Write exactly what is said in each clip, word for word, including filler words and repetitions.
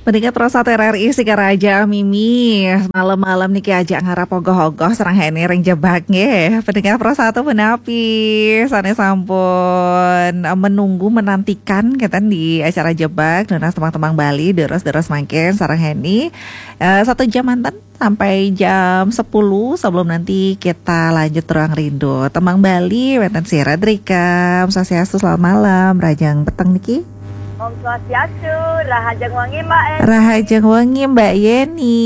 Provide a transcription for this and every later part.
Pendengar Pro satu R R I Singaraja, Mimi, malam-malam niki ajak ngarap ogoh-ogoh sareng Heni ring Jebak nggih. Pendengar Pro satu punapi, sané sampun, eh, menunggu, menantikan keten di acara Jebak, nunas tembang-tembang Bali, deres-deres mangkin sareng Heni. Eh, satu jam manten sampai jam sepuluh, sebelum nanti kita lanjut Ruang Rindu. Tembang Bali, wénten sira drika. Om Swastiastu, selamat malam, rahajeng peteng niki. Om Swastiastu, rahajeng wengi, Mbak Eni. Rahajeng wengi, Mbak Yeni.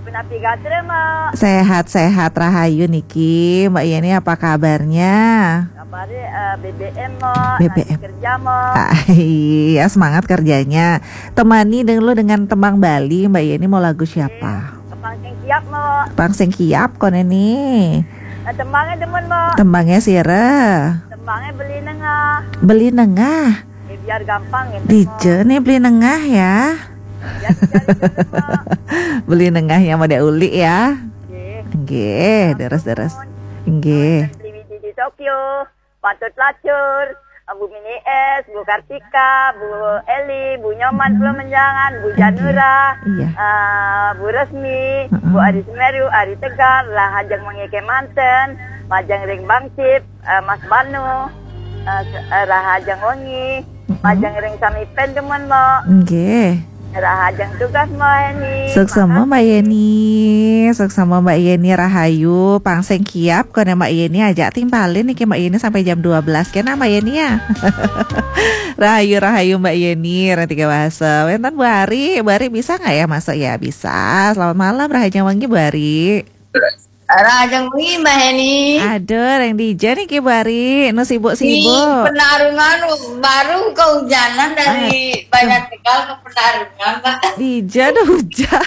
Punapi gatra, Mbak? Sehat-sehat, rahayu niki. Mbak Yeni, apa kabarnya? Kabarnya, eh, B B M, Mbak. B B M. Lanjut kerja, Mbak. Ah, iya, semangat kerjanya. Temani dulu dengan tembang Bali, Mbak Yeni mau lagu siapa? Oke, Pang Sing Kiap, Mbak. Pang Sing Kiap, koné nih. Eh, tembangnya demen, Mbak. Tembangnya sira. Tembangnya Beli Nengah. Beli Nengah. Ya, biar gampang gitu, Mbak. Dija nih Beli Nengah ya. Ya, biar itu, Mbak. Beli Nengah yang pada uli ya. Oke. Nggih, deres-deres. Nggih. Beli Widi di Tokyo. Patut Lacur, Bu Mini S, Bu Kartika, Bu Eli, Bu Nyoman, Pulau Menjangan, Bu Janura, iya, eh, Bu Resmi, Bu Ari Semeru, Ari Tegar, rahajeng wengi kémanten, majeng ring Bang Cip, eh, Mas Banu, eh, se- eh, rahajeng wengi, majeng ring sami pun demen, Mbak. Nggih. Rahajeng tugas, Mbak Yeni. Suksma, Mbak Yeni. Suksma, Mbak Yeni, rahayu. Pang Sing Kiap, koné Mbak Yeni ajak timpalin niki Mbak Yeni sampai jam dua belas. Kena Mbak Yeni ya. Rahayu, rahayu Mbak Yeni, ring tiga bahasa. Wénten Bu Ari, Bu Ari bisa nggak ya masuk ya? Bisa. Selamat malam, rahajeng wengi Bu Ari. Rahajeng wengi, Mbak Heni. Aduh, ring dija niki Bu Ari, nu sibuk-sibuk. Di Penarungan, baru kehujanan dari Banjar Tegal ke Penarungan, Mbak. Dija ada hujan.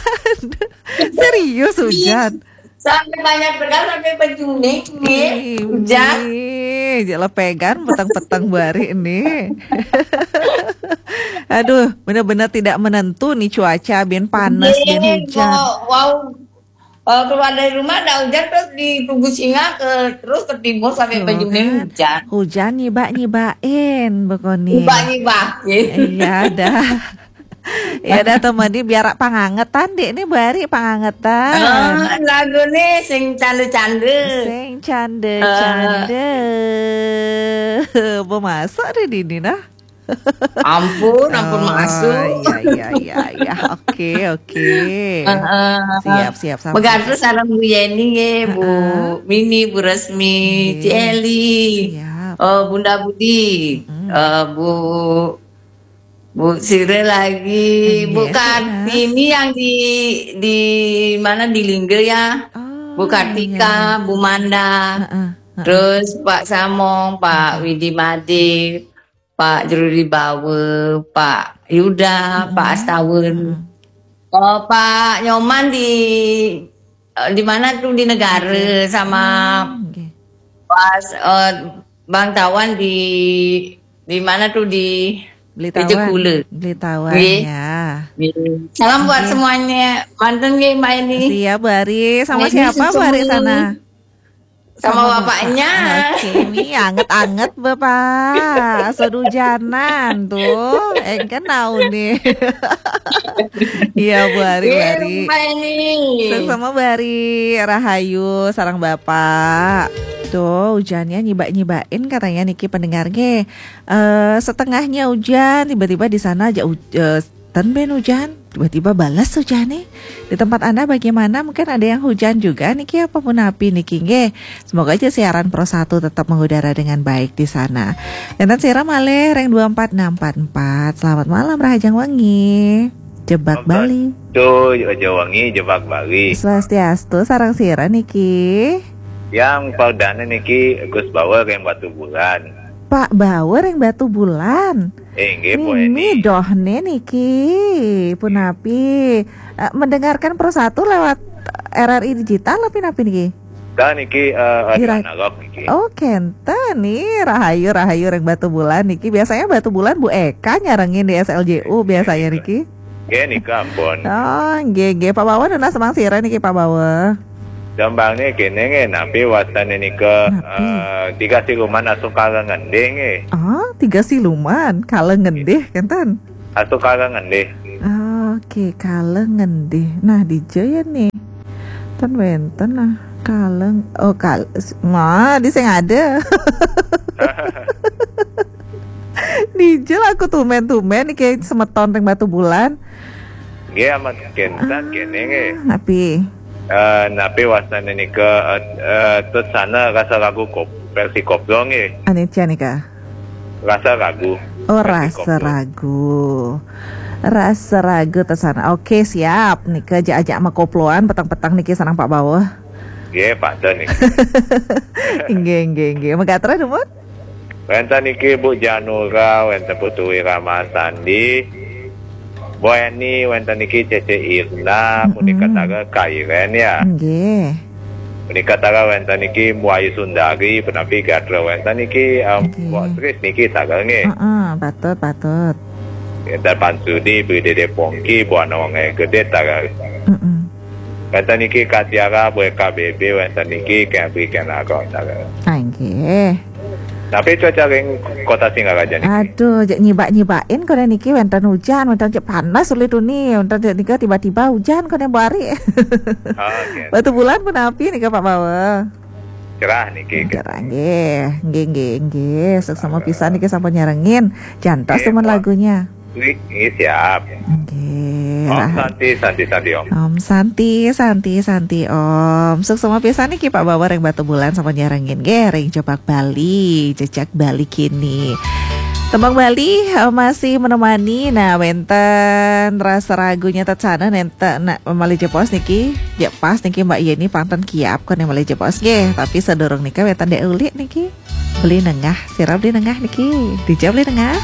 Serius hujan? Sampai Banjar Tegal, sampai Pejuning nih, hujan. Ih, lepegan peteng-peteng Bu Ari ini. Aduh, benar-benar tidak menentu nih cuaca, bin panas, bin hujan. Wow. Eh, keluar dari rumah ada hujan, terus di Tugu Singa ke, terus ke timur sampai Pejuning kan. Hujan. Hujan nyibak-nyibakin, Bu Koni. Nyibak-nyibakin. Iya, dah. Ya dah, temani biar pangangetan, Dek. Ini Bu Ari pangangetan. Eh, lagu nih sing canda-canda. Sing canda-canda. Eh. Pemasok deh dini, nah. Ampun, ampun. Oh, masuk. Iya, iya, iya, iya. Oke, oke. Heeh. Siap, siap, sampai. Megatus sareng Bu Yeni nggih, Bu Mini, Bu Resmi, Ci Eli. Siap. Eh, Bunda Budi, eh, Bu, Bu Sire lagi, Bu Kartini yang di, di mana, di Lingga ya? Oh, Bu Kartika, iya. Bu Manda. Heeh, heeh. Terus Pak Samong, Pak Widi Made, Pak Jruri Bawa, Pak Yuda, Pak Astawen. Oh, Pak Nyoman di, eh, di mana tuh, di Negara, sama Pas, eh, Bang Tawan di, di mana tuh, di Belitawan. Ejekule. Belitawan, nggih. Ya. Nggih. Salam buat semuanya. Manten nggih, Mbak Eni. Siap, Bu Ari. Sama siapa, Bu Ari, sana? Sama bapaknya. Oke, ini anget-anget, Bapak. Asal hujanan tuh. Engken tahu nih. Iya, Bu Ari, Bu Ari. Iya, Mbak Eni. Sama Bu Ari, rahayu, sareng Bapak. Tuh, hujannya nyibak-nyibakin katanya niki pendengar nggih. Eh, setengahnya hujan, tiba-tiba di sana aja huj- eh, ten ben hujan, tiba-tiba balas hujan nih. Di tempat Anda bagaimana? Mungkin ada yang hujan juga niki, apa punapi niki nggih. Semoga aja siaran Pro satu tetap mengudara dengan baik di sana. Enten sira malih ring dua empat enam empat empat. Selamat malam, rahajeng wengi. Jebak Bali. Tuh, Jebak Wengi, Jebak Bali. Swastiastu, sareng sira niki. Yang perdana niki Gus Bawa ring Batubulan. Pak Bawa ring Batubulan. Inggih, Bu Eni. Mimi dohne niki, punapi? Eh, mendengarkan Pro satu lewat R R I Digital, tapi napi niki? Kan niki, eh, radio analog niki. Oh, kenten nih, rahayu, rahayu ring Batubulan niki. Biasanya Batubulan Bu Eka nyarengin di S L J U biasanya niki. Nggih, nika ampun. Oh, nggih, nggih. Pak Bawa nunas tembang sira niki, Pak Bawa? Tembangne kene nggih, napi wastane nika, eh, Tiga Siluman Asung Kala Ngendih nggih. Ah, Tiga Siluman Kala Ngendih, kenten. Asung Kala Ngendih. Ah, Oke, kaleng ngendi? Nah, dija ya nih. Ten wenten nah, kaleng. Oh, kal nah, di sing ada. Dija lah aku tumen-tumen nih kayak semeton ring Batubulan. Nggih, amat kénten kéné nggih. Napi? Eh, napi wastané nika, eh, eh, tetsana rasa ragu kop, versi koplo nggih. Anicia nika. Rasa ragu. Oh, Versi rasa koplo. Ragu. Rasa ragu tetsana. Oke, siap. Nika ajak-ajak makoploan petang-petang niki sareng Pak Bawah. Nggih, patut nih. Inggih, inggih, inggih. Megatra dumun? Wénten niki Bu Janura, wénten Putu Wiramasandi, Bu Eni, wénten niki Cece Irna, Mm-mm. punika tara Kairen ya. Inggih. Punika tara wénten niki Bu Ayu Sundari, punapi gatra wénten niki, em, Nggih. Bu Tris niki tara nggih. Heeh, patut, patut. Wénten Pansudi, Bu Dede Pongki, Bu Ana Wonge Gede tara. Heeh. Wénten niki Katiara, Bu K B B, wénten niki Kebri Kenaro tara. Ah, inggih. Tapi cuaca ring Kota Singaraja niki. Aduh, jek nyibak-nyibakin kone niki wénten hujan, wénten jek panas uli tuni, wénten jek nika tiba-tiba hujan kone Bu Ari. Oke. Batubulan punapi nika Pak Bawah? Cerah niki. Cerah nggih, nggih, nggih, nggih. Suksma pisan niki sampun nyarengin. Jantos Nggih, temen Pak. Lagunya. Nggih, nggih, siap. Nggih. Om Santi, Santi, Santi Om. Om Santi, Santi, Santi Om. Suksma pisan niki Pak Bawah ring Batubulan sampun nyarengin nggih ring Jebak Bali, Jejak Bali kini. Tembang Bali eh, masih menemani. Nah, wénten rasa ragunya tetsana nenten nah, malih jepos niki. Jek pas niki Mbak Yeni pantun kiap kone malih jepos nggih. Tapi sadurung nika wénten Dek Uli niki. Beli Nengah, sira Beli Nengah niki. Dija Beli Nengah.